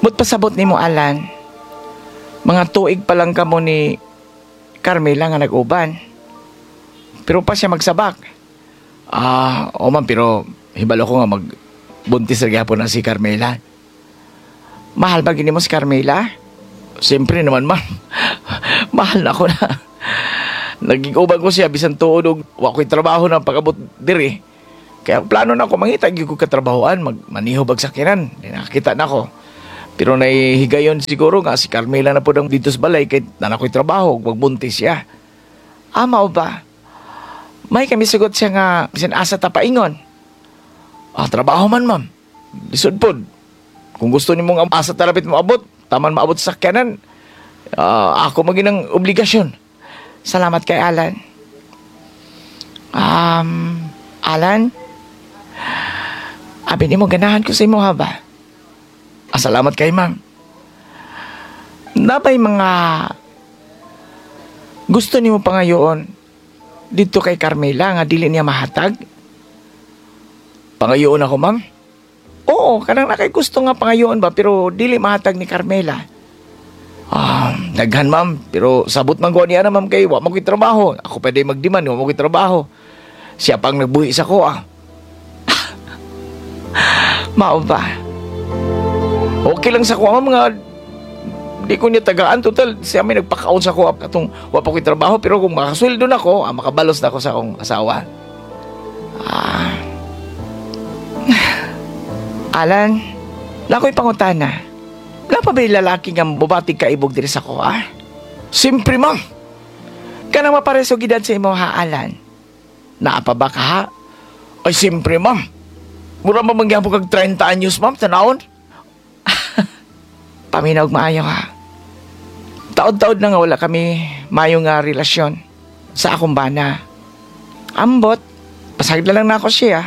But pasabot nimo, Alan, mga tuig pa lang kamo ni Carmela nga nag-uban. Pero pa siya magsabak. Ah, o ma'am, pero hibalo ko nga magbuntis na gyapon na si Carmela. Mahal ba gini mo si Carmela? Siyempre naman, ma'am. Mahal na ako na. Naging uban ko siya, bisan tuod og wa ko'y trabaho na pag-abot diri. Kaya plano na ako, mangita gyud ko katrabahoan, magmaniho bag sakyanan. Di nakakita na ako. Pero nahihigayon siguro nga si Carmela na po dito sa balay kay na ako'y trabaho, magbuntis siya. Ah, mao ba? May kami sugot siya nga bisan asa ta paingon. Ah, trabaho man, ma'am. Lisod pod. Kung gusto nimo nga asa ta rapit moabot, taman maabot sa sakyanan. Ah, ako maginang obligasyon. Salamat kay Alan. Alan, abi nimo ganahan ko sa imo ha ba? Ah, salamat kay ma'am. Nabay mga gusto nimo pangayoon dito kay Carmela nga dili niya mahatag? Pangayoon ako, ma'am? Oo, kanang nakay gusto nga pangayoon ba pero dili mahatag ni Carmela. Ah, daghan, ma'am, pero sabot man ko niya na, ma'am, kay wa man ko'y trabaho. Ako pwede magdiman, wa man ko'y trabaho. Siya pang nagbuhi sa ko ah. Mao ba? Okay lang sa kuha, ma'am, nga di ko niya tagaan. Total, siya may nagpakaon sa kuha katong wa pa ko'y trabaho. Pero kung makasweldo na ko, makabalos na ako sa akong asawa. Ah. Alan, lako'y pangutana. Wala pa ba'y lalaki nga bubatig kaibog diri sa kuha? Siyempre, ma'am. Kanang mapareso gidad sa imo ha, Alan. Naa pa ba ka ha? Ay, siyempre, ma'am. Mura pa mangyapon kag 30 anyos, ma'am, tanawon. Paminaw maayo ha. Taod-taod na nga wala kami mayo nga relasyon sa akong bana. Ambot, pasagad na lang na ako siya.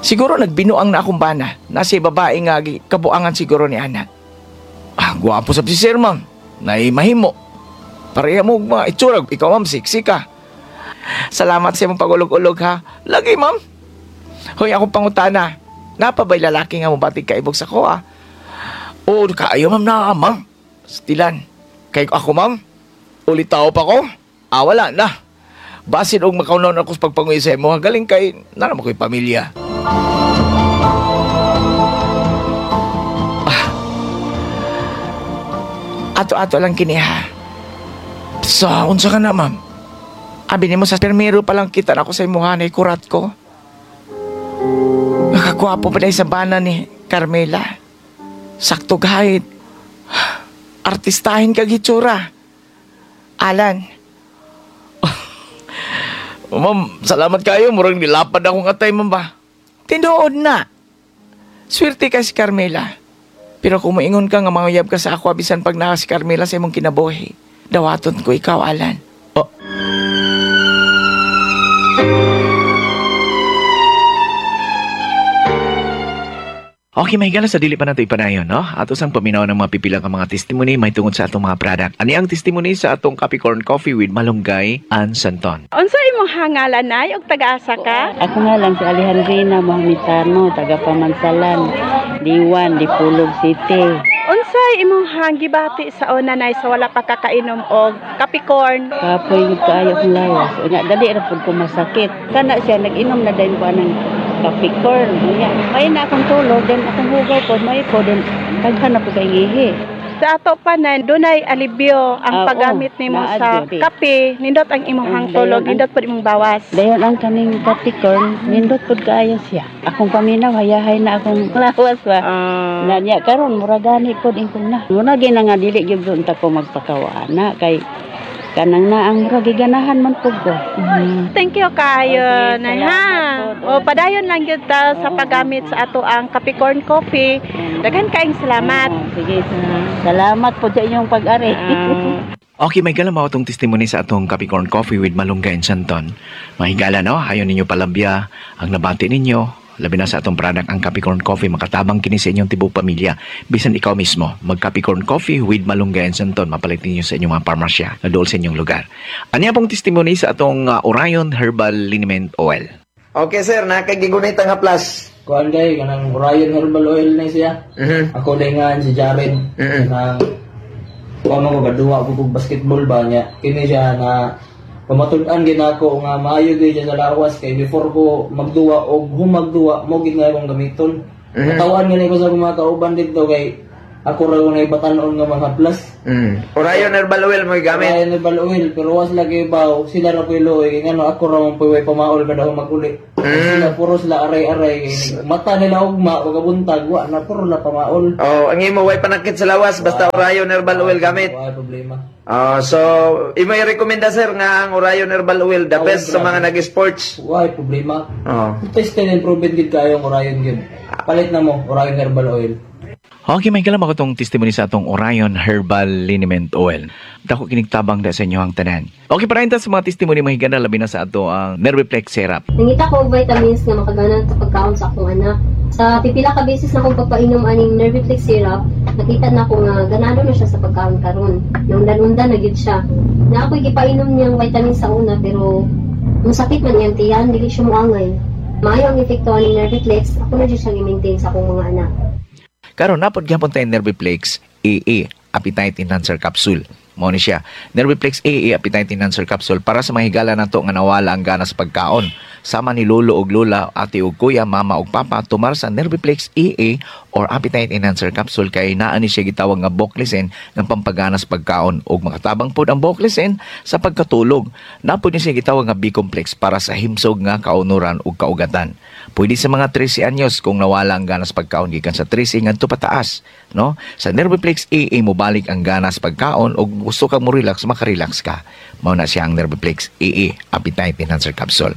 Siguro nagbinuang na akong bana. Nasa babae nga kabuangan siguro ni Ana. Ah, gwapo sa si sir, ma'am. Naimahimo. Pareha mo mga itsura. Ikaw, ma'am, sexy ka. Salamat sa imong pag-ulog-ulog, ha. Lagi, ma'am. Hoy, akong pangutana. Napa ba'y lalaki nga mobatig kaibog sa ko, ah? Oo, kaayo, ma'am, na, ma'am. Stilan. Kay ako, ma'am. Ulit tao pa ko. Ah, wala na. Basin og makaunon ako sa pagpanguwi sa imo. Galing kay, naman ko'y pamilya. Ah. Ato-ato lang kini ha. Sa unsa ka na, ma'am? Abi nimo sa permiro pa lang kita na ako sa imuha na ikurat ko. Nakagwapo pa dahil sa bana ni Carmela. Sakto gahit. Artistahin kag hitsura. Alan. Ma'am, salamat kayo. Murang nilapad akong atay, ma'am ba? Tinuod na. Swerte ka si Carmela. Pero kung moingon ka nga manguyab ka sa ako bisan pag naa si Carmela sa imong kinabuhi, dawaton ko ikaw, Alan. Oh. Okay, mahigala sa dili pa nato ipanayon, no? Ato sang paminaw ng mga pipila ka mga testimony may tungod sa atong mga product. Ani ang testimony sa atong Capricorn Coffee with Malunggay and Santon. Unsa imong hangalan, nay, ug taga-asa ka? Ako nga lang si Alejandrina Mohamitano, taga Pamansalan, Diwan, Dipolog City. Unsa imong hangibati sa una, nay, sa wala pa kakainom og Capricorn? Kapoy gud kaayo akong lawas. Unya dali ra pud ko masakit. Kana siya nag-inom na dayon ko anang Capricorn. Unya may na akong tulog, then akong hugaw pod may po then daghan na po kay ngihi. Sa ato pa na dunay alibyo ang Ah, paggamit oo, nimo naa sa gyud. kape, nindot ang imong Ang hangtulog, dayon ang- nindot pud imong bawas. Dayon ang kaning Capricorn, nindot pud kaayo siya. Akong paminaw hayahay na akong lawas ba. Ah. Na niya karon mura gani pod ingkon na. Mura gyud na nga dili gyud unta ko magpakawa na kay kanang na ang mura giganahan man pud ko. Thank you kayo, Okay, nay ha. salamat po. O padayon lang gyud ta sa Oo. paggamit sa ato ang Capricorn Coffee. Daghan kaayong salamat. Oo, sige. Salamat po sa inyong pag-ari. Okay, may gala mao atong testimony sa atong Capricorn Coffee with Malunggay and Santon. Mahigala, no? Ayon ninyo palabya ang nabati ninyo. Labi na sa atong product ang Capricorn Coffee, makatabang kini sa inyong tibuok pamilya. Bisan ikaw mismo, mag Capricorn Coffee with Malunggay and Santon, mapalit ninyo sa inyong mga parmasya na dool sa inyong lugar. Anya pong testimony sa atong Orion Herbal Liniment Oil. Okay sir, nakagigunit ang haplas. Kuan kay kanang Orion Herbal Oil na siya. Ako nga si Jared. Kanang kuan mo gaduwa ko kog basketball ba niya. Kini siya na pamatud-an gid nako nga maayo gyud siya sa lawas kay before ko magduwa og humagduwa mo gid nga akong gamiton. Katawan gani ko sa mga kauban didto kay ako ra ko batan-on nga mga plus. Orion Herbal Oil mo gamit. Orion Herbal Oil pero was lagi baw sila ra puy luoy kay ngano ako ra man puy way pamaol kada maguli. Sila puro sila aray-aray kay mata nila ugma pagkabuntag wa na puro na pamaol. Oh, ang imo way panakit sa lawas basta Orion Herbal Oil gamit. Wa problema. Oh, so imo i-recommenda sir nga ang Orion Herbal Oil the best sa mga nag-sports. Wa problema. Oh. Tested and proven gid kayo ang Orion gid. Palit na mo Orion Herbal Oil. Okay, may kalam ako tong testimony sa atong Orion Herbal Liniment Oil. Dako kinigtabang da sa inyo ang tanan. Okay, para sa mga testimony mahigana labi na sa ato ang Nerviplex Syrup. Nangita ko og vitamins nga makagana sa pagkaon sa akong anak. Sa pipila ka beses na akong pagpainom aning Nerviflex syrup, nakita na ko nga ganado na siya sa pagkaon karon. Naundan-undan na gyud siya. Na ako'y gipainom niyang vitamins sa una pero musakit man iyang tiyan, dili siya moangay. Maayo ang epekto aning Nerviflex, ako na jud siyang i-maintain sa akong mga anak. Karon napod gyapon tayo Nerviplex AA Appetite Enhancer Capsule. Mao ni siya. Nerviplex AA Appetite Enhancer Capsule para sa mga higala nato nga nawala ang gana sa pagkaon. Sama ni lolo og lola, ate og kuya, mama og papa, tumar sa Nerviplex AA or Appetite Enhancer Capsule kay naa ni siya gitawag nga Boclesen nga pampagana sa pagkaon og makatabang pod ang Boclesen sa pagkatulog. Napod ni siya gitawag nga B-complex para sa himsog nga kaunuran ug kaugatan. Pwede sa mga 13 anyos kung nawala ang gana sa pagkaon gikan sa 13 ngadto pataas, no? Sa Nerviplex AA mobalik ang gana sa pagkaon og gusto ka mo relax, makarelax ka. Mao na siya ang Nerviplex AA Appetite Enhancer Capsule.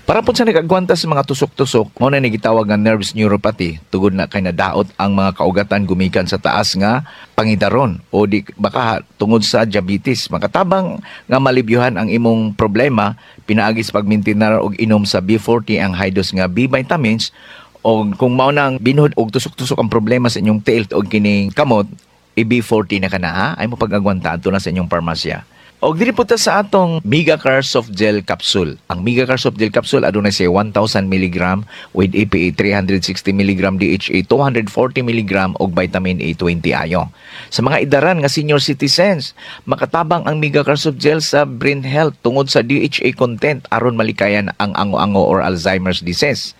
Para po sa nag-agwanta sa mga tusok-tusok, mao na ni gitawag nga nerves neuropathy, tugod na kay nadaot ang mga kaugatan gumikan sa taas nga pangidaron o di baka tungod sa diabetes. Makatabang nga malibyuhan ang imong problema pinaagi sa pagmintinar og inom sa B40 ang high dose nga B vitamins o kung mao nang binhod og tusok-tusok ang problema sa inyong tiil og kining kamot, i-B40 na ka na ha, ay mo pag-agwanta adto na sa inyong parmasya. Og diri po ta sa atong Megacar Soft Gel Capsule. Ang Megacar Soft Gel Capsule adunay siya 1000 mg with EPA 360 mg, DHA 240 mg og vitamin A 20 ayo. Sa mga idaran nga senior citizens, makatabang ang Megacar Soft Gel sa brain health tungod sa DHA content aron malikayan ang ango-ango or Alzheimer's disease.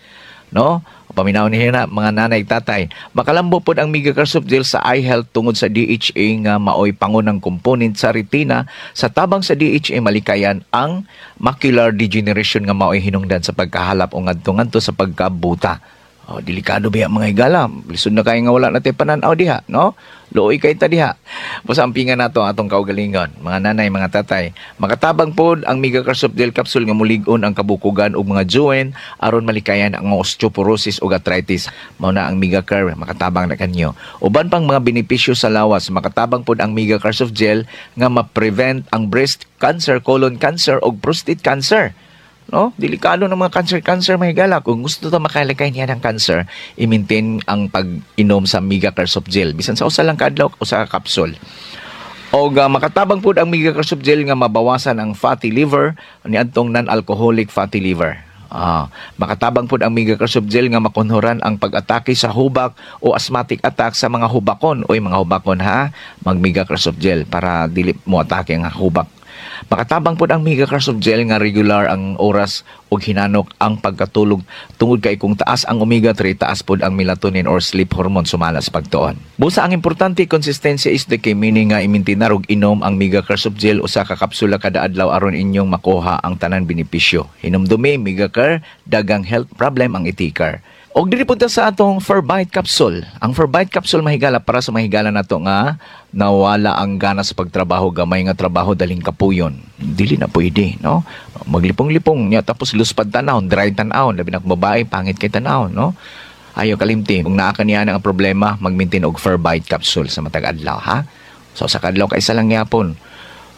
No? Paminaw niya na mga nanay tatay. Makalambo pod ang Megacar Soft Gel sa eye health tungod sa DHA nga maoy pangunang component sa retina. Sa tabang sa DHA malikayan ang macular degeneration nga maoy hinungdan sa pagkahalap o ngadto-ngadto sa pagkabuta. Oh, delikado biya mga higala. Lisod na kayo nga wala na tayo pananaw diha, no? Luoy kay ta diha. Basta ampingan nato ang atong kaugalingon, mga nanay, mga tatay. Makatabang pod ang Megacar Soft Gel Capsule nga mulig-on ang kabukugan ug mga joint aron malikayan ang osteoporosis ug arthritis. Mao na ang Megacar, makatabang na kanyo. Uban pang mga benepisyo sa lawas, makatabang pod ang Megacar Soft Gel nga ma-prevent ang breast cancer, colon cancer ug prostate cancer. No? Delikado ng mga cancer-cancer mga higala. Kung gusto ta makalikay niya ng cancer, i-maintain ang pag-inom sa Megacar Soft Gel. Bisan sa usa lang ka adlaw, usa ka capsule. Og makatabang pud ang Megacar Soft Gel nga mabawasan ang fatty liver niadtong non-alcoholic fatty liver. Makatabang pud ang Megacar Soft Gel nga makunhoran ang pag-atake sa hubak o asthmatic attack sa mga hubakon. Oy mga hubakon ha, mag Megacar Soft Gel para dili mo atake ang hubak. Makatabang pud ang Megacar Soft Gel nga regular ang oras ug hinanok ang pagkatulog tungod kay kung taas ang omega 3, taas pud ang melatonin or sleep hormone sumala sa pagtuon. Busa ang importante, consistency is the key, meaning nga imintinar og inom ang Megacar Soft Gel usa ka kapsula kada adlaw aron inyong makuha ang tanan benepisyo. Hinumdumi, Megacar, dagang health problem ang itikar. Og diri punta sa atong Ferbite capsule. Ang Ferbite capsule mahigala para sa mahigala nato nga nawala ang gana sa pagtrabaho, gamay nga trabaho daling kapuyon. Dili na pwede, no? Maglipong-lipong niya tapos luspad tanawon, dry tanawon, labi na kung babae pangit kay tanawon, no? Ayo kalimti, kung naa ka niya ang problema, mag-maintain og Ferbite capsule sa matag adlaw, ha? So sa kadlaw kay isa lang gyapon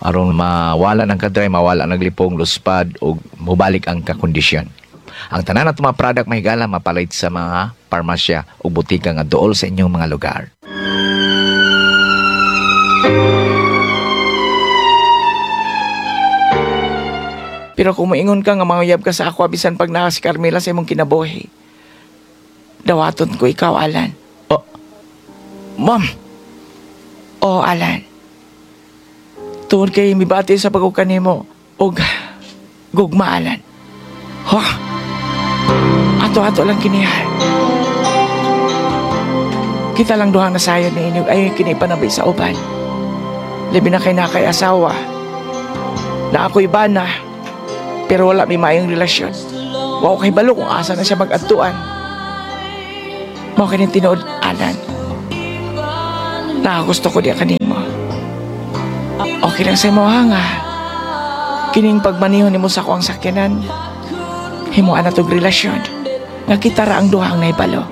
aron mawala ng kadry, mawala ng lipong, luspad ug mobalik ang kakondisyon. Ang tanan nato mga product mahigala mapalit sa mga parmasya o butika nga duol sa inyong mga lugar. Pero kung moingon ka nga manguyab ka sa ako bisan pag naa si Carmela sa imong kinabuhi. Dawaton ko ikaw, Alan. Oh, ma'am. Oh, Alan. Tungod kay mibati sa pag nimo og gugma, Alan. Ha? Ato-ato lang kini ha. Kita lang duhang nasayod ni inyog ay kini panabi sa uban. Labi na kay na kay asawa. Na ako'y bana. Pero wala may maayong relasyon. Wa ko kahibalo kung asa na siya mag-adtuan. Mao kini tinuod, Alan. Nakagusto ko diya kanimo. Okay lang sa imo ha nga. Kining pagmaniho nimo sa akong sakyanan. Himuan na tog relasyon. Nga kita ra ang duhang naibalo.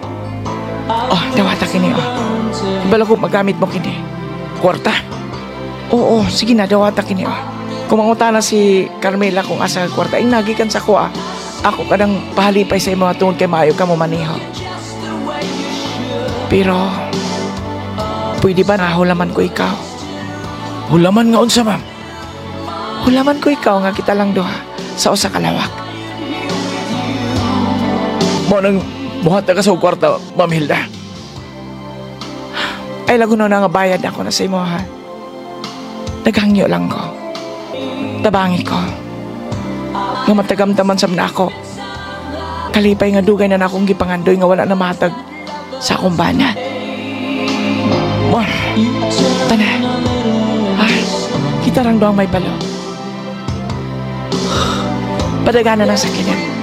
Oh, dawata kini oh. Ibalo ko magamit mo kini. Kwarta? Oo, sige na, dawata kini oh. Kung mangutana si Carmela kung asa ang kwarta, ay nagikan sa kuha. Ako kanang pahalipay sa imo tungod kay maayo ka mo maniho. Pero, pwede ba na hulaman ko ikaw? Hulaman nga unsa, ma'am? Hulaman ko ikaw nga kita lang duha sa usa ka lawak. Mo nang muhatag ka sa kwarta, Ma'am Hilda. Ay, lago na nga bayad ako na sa imo ha. Naghangyo lang ko. Tabangi ko. Nga matagamtaman sab na ako. Kalipay nga dugay na na akong gipangandoy nga wala na mahatag sa akong bana. Mo, tana. Ah, kita lang doang may balo. Padagana ng sakinan.